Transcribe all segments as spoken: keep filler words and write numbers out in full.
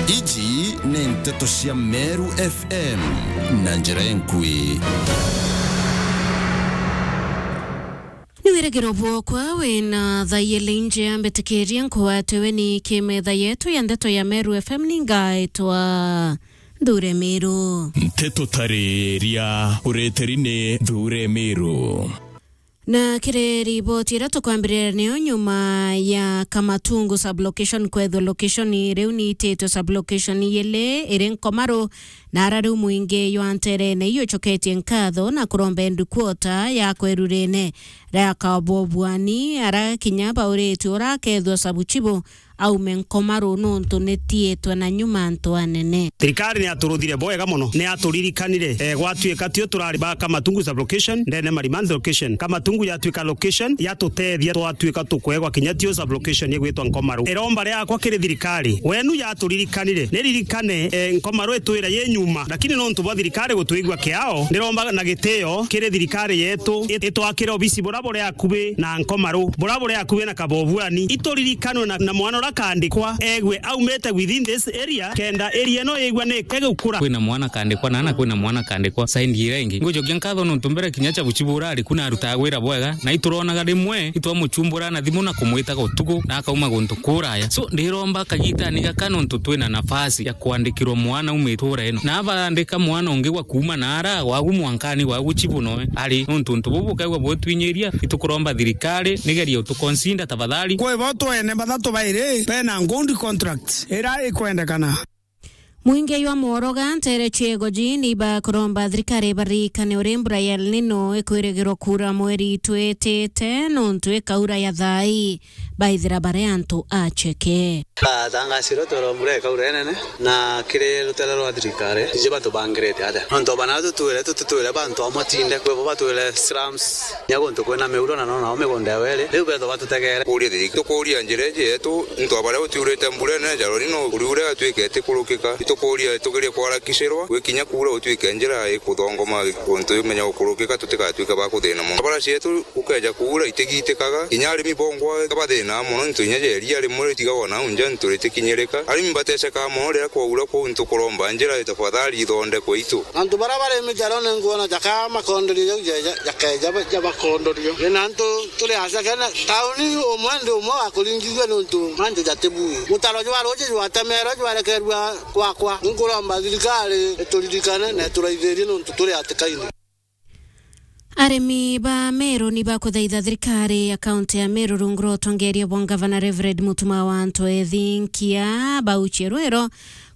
Iji ni nteto cia Meru F M na njira enkui. Ni wirigiro bwokwa wina thaiyeli nje ambitikirie nkuatiwe ni kimetha yetu ya nteto ya Meru F M ni ngaitwa Nthure Miru. Nteto tariria ureteri ni Nthure Miru. Na kiri riboti iria tukwambiriria niyo nyuma ya Kamatungu sublocation kwethwa location riu ni ititwe sublocation iyili iri Nkomaru, na ara riu mwingi jwa nterene iucoketie nkatho na kuromba endu kuota ya kwerurene ria Kabobuani ara kinya bauritue urakethwa sabuchibu aume Nkomaru nuntu nitiitwe na nyuma antu anene. Thirikari ni yaturuthire bwega mono, ni yaturirikanire, eh, gwatuika tio turari ba Kamatungu sublocation, ndene Marimanthi location. Kamatungu yatuika location, yatutethia twatuika tukwegwa kinya tio sublocation igwitwa Nkomaru. Iromba riakwa kiri thirikari, wenu yaturirikanire, niririkane, eh, Nkomaru itwire yi nyuma, lakini nontu bwa thirikari gutwigua kiao, ndiromba na gitio kiri thirikari yetu it-, itwakire obisi bura buri akubi na Nkomaru, bura buri akubi na Kabobuani, ituririkanwe na, na mwana uria kandikwa egwe aumite within this area, kenda area ino igwa ni kegukura. Kwina mwana kandikwa na, na kwina mwana kandikwa side iria ingi. Ngucokia nkatho nontu mbere kinya cha buchibu urari ku na arutaga wira bwega, na ituronaga rimwe itwamuchumbura na thimu na kumwitaga utuku na akauma guntu kuraya. So, ndiromba kagitani gaka nontu twina nafasi ya kwandikirwa mwana aume itura ino. Na abaandika mwana ungi gwa kuuma na ara, wagu mwankani, wagu chibu noe ari. Nontu untu bubu bukaigua butwinyiria, itukuromba thirikari nigerie utuconsider tafadhali. Kwi bo twene bathatu bairi bena good contract ira ikwendekana. Mwingi jwa Mworoga, ntere ciego ji ni bakuromba thirikari ibaririkane uri mbura ya El Nino ikwirigirwa kuura mweri twitite, nontu ikaura ya thai, baithira bari antu acheke. Atangasirwe twirwa mbura ikaura inene, na kiri rutere rwa thirikari, iji batubangirite atia? Nontu bana tutwire, tututwire bantu amwe tinde, kwi bo batwire slums, nya guntu kwina miuro na nona o migunda ya weri, riu bethwa batutegere. Kuria thirikari, tukuria njira iji yetu, nontu baria gutiurite mbura inene, jaro rino uriure atuike itikurukika. Itukuria tugerie kwarakicirwa, gwikinya kuura gutuike njira ikuthongoma guntu imenya gukurukika, tutigatuike ba kuthina mono. Bara cietu gukeja kuura itigitikaga, kinya arimi bongwa bathina mono, nontu inya ja iria rimwe ritigagwa nau nja, nontu ritikinyirika. Arimi batecekaga mono riria kwaura, kwou ntukuromba njira tafadhali ithondekwe itu. Antu baria bari mijarone nguona jaka makondorio jau ja, ja, jakeja ba, jabakondorio. Ina antu turi acakene tauni umwe ndi umwe wa kuringithua nontu mantu jatibui. Mutaro jwa ruji jwatemerwe jwarekerua kwakwa. Nkuromba thirikari ituririkane na ituraithirie nontu turi hatikaine. Arimi ba Meru ni bakuthaitha thirikari ya kaunti ya Meru rungu rwa utongeria bwa ngavana Reverend Mutuma wa Antu Ethinkia bauchie rwiro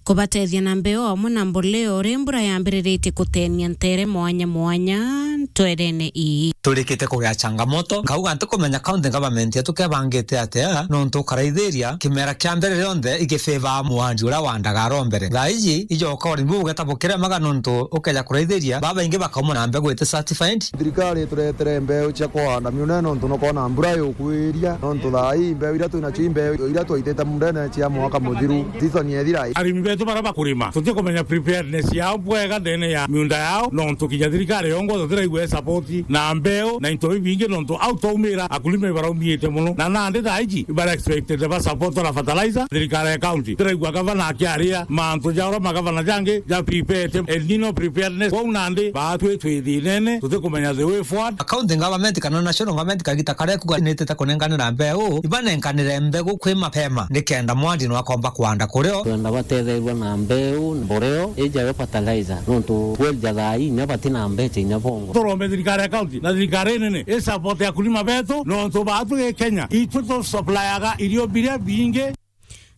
kubatethia na mbeo amwe na mboleo uri mbura yambiriritie kutenia ntere mwanya mwanya ntwerene ii. Turikite kugea changamoto, nkauga ntikumenya county government yetu kebangite atia, nontu ukaraithiria kimera kia mbere rionthe igifavor mwandi uria wandaga aro mbere. Thaa iji ijoka urimi bugeta bukiremaga nontu ukeja kuraithiria babaingi bakauma na mbegu iti certified. Thirikari ituretere mbeu cia kuhanda miundene nontu nukona mbura yukwiria, nontu thaa ii mbeu iria twinacio i mbeu iria twaitite muundene cia mwaka muthiru, season yethira. Arimi betu baria bakurima, tutikumenya preparedness yao bwega ndene ya miunda yao, nontu kinya thirikari yongwa tutiraigua support na mbeu na into bibingi, nontu au twaumira akulima ibaraumiite mono, na nandi thaa iji ibara expected ba support na fertilizer. Thirikari ya county tiraigua gavana akiaria mantu ja uria magavana jangi ja prepared, El Nino preparedness. Kwou nandi baatwi twi thinene, tutikumenya the way forward. County government kana national government kagita karia kuga nitite kunenganira mbeu, ibanenganire mbegu kwi mapema, nikenda mwandi nwakomba kwanda kurio. Twenda batetherua na mbeu, mboreo, ijayo fertilizer, nontu kwelja thaa ii inya batina mbecha inya bongo. Turombe thirikari ya county na thirikari nene i support akulima betu, nontu baatu gi Kenya itu tu supplyaga irio biria bingi.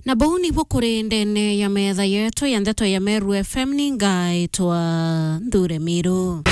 Na buu nibu kuri ndene ya metha yetu ya ndeto ya Meru F M, ni ngaitwa Nthure Miru.